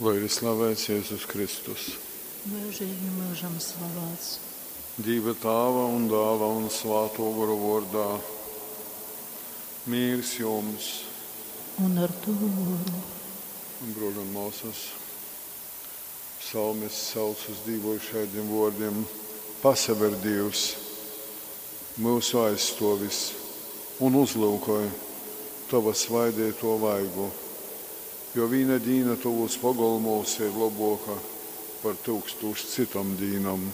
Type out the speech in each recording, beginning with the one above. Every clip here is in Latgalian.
Lai ir slavēts Jēzus Kristus. Mūžīgi mūžam slavēts. Dīva Tāva un Dāla un Svāto Goru vārdā. Mīrs jums! Un ar tovu goru. Bruoli un māsas, psalmists sauc uz Dīvu ar šādiem vārdiem: Pasaver Dievs, mūsu aizstovis, un uzlūkoj tava svaidīto vaigu, jo viena dīna tovos pogolmos ir labāka par tūkstošu citom dīnām.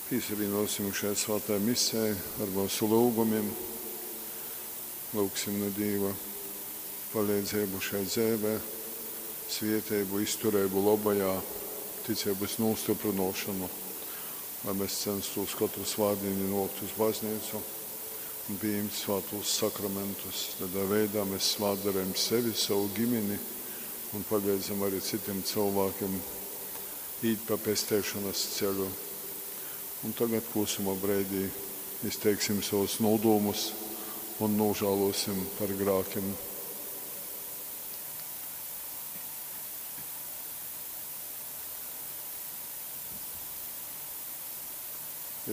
Piesavienosim šai svētai misē ar mūsu lūgumiem. Lūgsim no Dieva palīdzību šai dzīvē, svietēbu, izturību labajā, ticības nostiprināšanu, lai mēs censtos katru svētdienu nokt uz baznīcu un pieņemt svētos sakramentus. Tādā veidā mēs svētdarējam sevi, savu ģimeni un palīdzam arī citiem cilvēkiem īt pa pestēšanas ceļu. Un tagad klusuma brīdī izteiksim savus nodomus un nožēlosim par grākiem.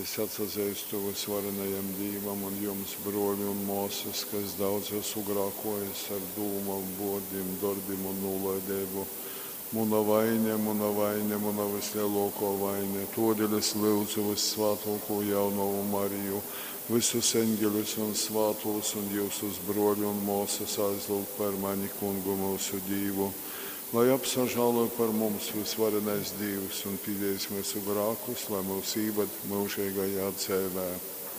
Es atsazīstu visvarenajam Dievam un jums, broļi un māsas, kas daudz esmu grākojis ar dūmām, vārdiem, darbiem un nolaidību. Muna vaine, muna vaine, muna vislielāko vaine. Todēļ es lūdzu vissvētāko jaunavu Mariju, visus eņģeļus un svātos un jūsus broļi un māsas aizlūgt par mani kungu mūsu Dievu. Lai apsažālo par mums visvarenais Dievs un pīdēs mūsu grākus, lai mūs īvad mūžīgajā dzīvē.